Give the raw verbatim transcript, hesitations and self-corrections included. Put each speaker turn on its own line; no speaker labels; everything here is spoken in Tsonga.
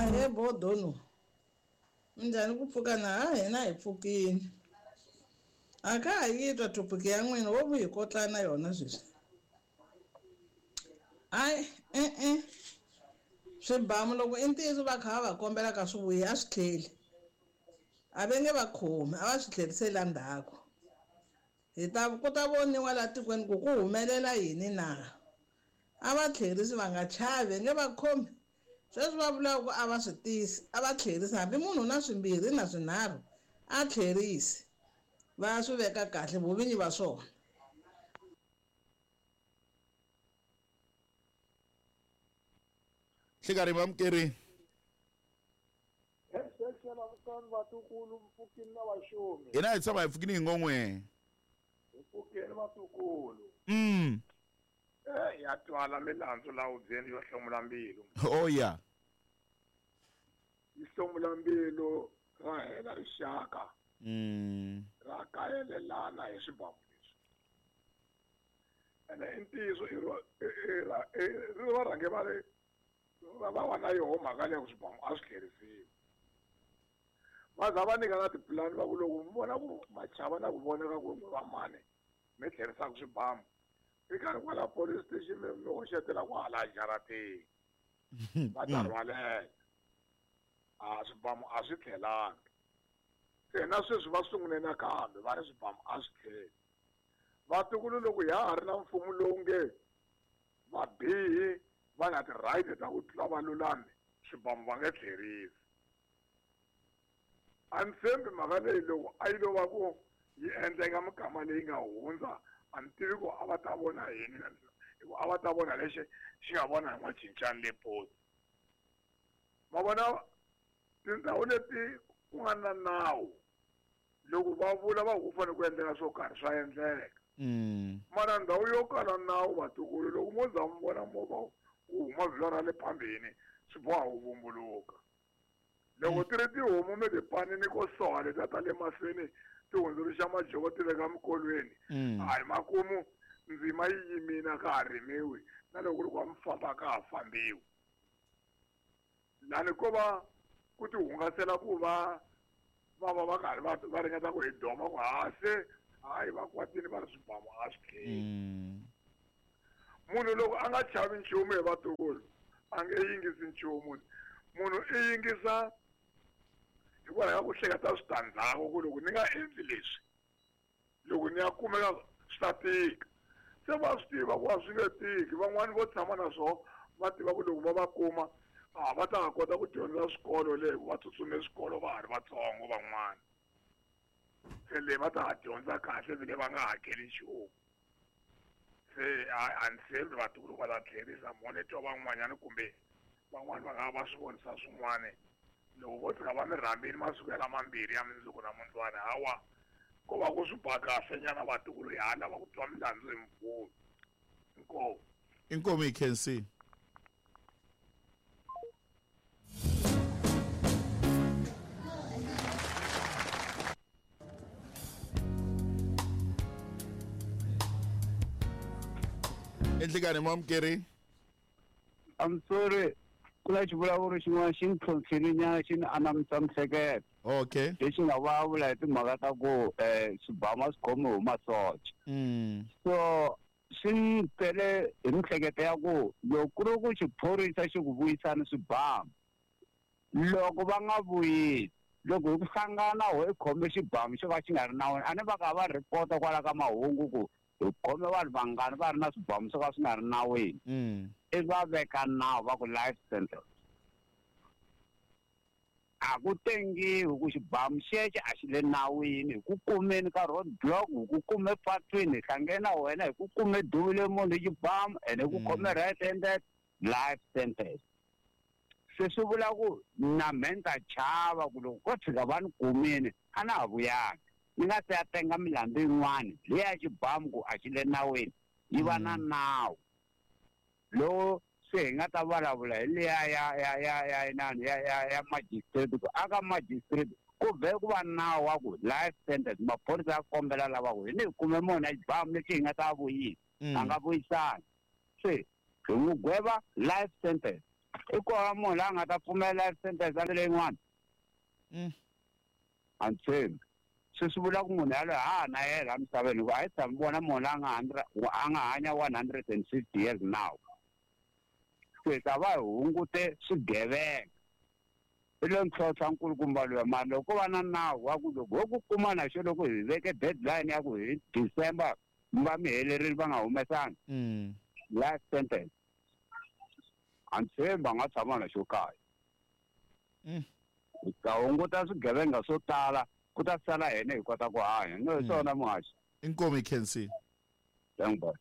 Ahee bodono. Minjhani ku pfuka na ha hina hi pfukini. A ka ha yi twa topic ya n'wina wo vu hi kotlana yona sweswi. Hayi e-e swibamu loko i ntiyiso va kha va va kombela ka swi vuyi a swi tlheli. A va nge va khomi a va swi tlheriseli endzhaku. Hi ta ku ta voniwa laha tikweni ku ku humelela yini na. A va tlherisi va nga chavi nge va khomi. Sweswi va vulaka ku a va swi tisi a va tlherisi hambi munhu na swimbirhi na swinharhu a tlherisi va swi veka kahle vovinyi va swona.
Nhlikani vamukeri. Hina hi tshama hi pfukini hi ngon'we.
Hi pfukeni vatukulu.
Mm.
Eh ya twala milandzu la hubyeni yo hlomula mbilu.
Oh yeah.
Yi hlomula mbilu ra hela rixaka.
Mm.
Ra kayelelana hi swibamu leswi. Ene i ntiyiso i ro i ri va rhange va ri va va na yoho mhaka leyi ku swibamu a swi tlherisiwi. Va za va nyika na tipulani va ku loko mi vona ku machava na ku voneka ku va mani mi tlherisaka swibamu. I karhi kwala police station mi mi hoxetela kwala jarateni. Va ta rhwalela. A swibamu a swi tlhelanga. Se na sweswi va sungule nakambe va ri swibamu a swi tlheli. Vatukulu loko ya ha ri na mfumo lowu nge vabihi va na ti-right ta ku tlula valulami swibamu va nge tlherisi. A ni tshembi mhaka leyi loko a yi lo va ku yi endleka mikama leyi nga hundza a ni tivi ku a va ta vona yini hikuva a va ta vona lexi xi nga vona hi n'wacincani le poti. Ma vona tindhawu leti ku nga na nawu loko va vula va ku fanele ku endleka swo karhi swa endleka. Mara ndhawu yo kala nawu vatukulu loko mo za mi vona movha wu huma vhilwa ra le phambeni swi boha wu vumbuluka. Loko ti ri tihomu mi ti panini ko soha letiya ta le mahlweni ti hundzuluxa majoko ti veka mikolweni. Hayi makumu ndzima yi yimile a ka ha rimiwi na loko ku ri ku mi famba ka ha fambiwi. Lani ko va ku ti hungasela ku va va va va karhi va va ringeta ku hi doma ku ha se hayi va kwatini va ri swibamu a swi tlheli. Munhu loko a nga chavi nchumu hi vatukulu a nge yingisi nchumu. Munhu i yingisa hikwalaho ka ku hleketa switandzhaku ku loko ni nga endli leswi loko ni ya kumeka swi ta tika. Se va swi tiva ku a swi nge tiki van'wani vo tshama na swona va tiva ku loko va va kuma a va ta ha kota ku dyondza swikolo le hikuva va tsutsume swikolo va ha ri vatsongo van'wana. Se le va ta ha dyondza kahle vile va nga hakeli nchumu. Se a ni tshembi vatukulu va ta tlherisa mo ni twa van'wanyana kumbe van'wani va nga va swi vonisa swin'wana loko vo tshuka va mi rhambile masiku ya lamambirhi ya mundzuku na mundlwana hawa ko va ku swi ba kahle nyana vatukulu hi ha lava ku twa milandzu hi mvumo. Inkomu.
Inkomu hi khensile. Enhlikani mamukeri.
I'm sorry. Ku na xivulavuri xin'wana xi ni tlhontlhile nyana xi ni anamisa mihleketo.
Okay.
Lexi nga vulavula hi timhaka ta ku swibamu a swi khomiwi hi masocha. So swi ni tele hi mihleketo ya ku loko ku ri ku xiphorisa xi ku vuyisana swibamu loko va nga vuyisi loko hi ku hlangana ho hi khome xibamu xo ka xi nga ri nawini a ni va ka va rhipota kwala ka mahungu ku hi khome vanhu vangani va ri na swibamu swo ka swi nga ri nawini. I va veka nawu va ku life sentence. A ku tengiwi ku xibamu xexo a xi le nawini hi ku kumeni ka road block hi ku kume patwini hi hlangene na wena hi ku kume duvule munhu hi xibamu ene hi ku khome right handed life sentence. Se swi vula ku na mehe ni ta chava ku loko ko tshika va ni kumile a na ha vuyanga ni nga se ya tenga milandzu yin'wana liya ya xibamu ku a xi le nawini yi va na nawu lowu se hi nga ta vulavula hi liya ya ya ya ya inani ya ya ya magistrate ku aka magistrate ku vhe ku va nawu wa ku life sentence maphorisa ya kombela lava ku hi ni hi kume munhu a xibamu lexi hi nga ta vuyisa a nga vuyisani se hi n'wi gweva life sentence. I kona munhu la nga ta pfumela life sentence a leyin'wana.
Mm.
A ni tshembi. Swi swi vula ku munhu yaloye ha ha na yena emisaveni hikuva a hi tshami vona munhu la nga hundred a nga hanya one hundred and fifty years now. Se ta va hi hungute swigevenga. I lo ntlhontlha nkulukumba luya mara loko ko va na nawu wa ku loko ho ku kuma na xo loko hi veke deadline ya ku hi December mi va mi helerile va nga humesanga
Mm.
life sentence. A ni tshembi a nga tshama na xo kaya.
Mm.
Hi ta hunguta swigevenga swo tala ku ta sala hina hi kota ku hanya. No hi swona muhaxi.
Inkomu hi khensile.
Thank you.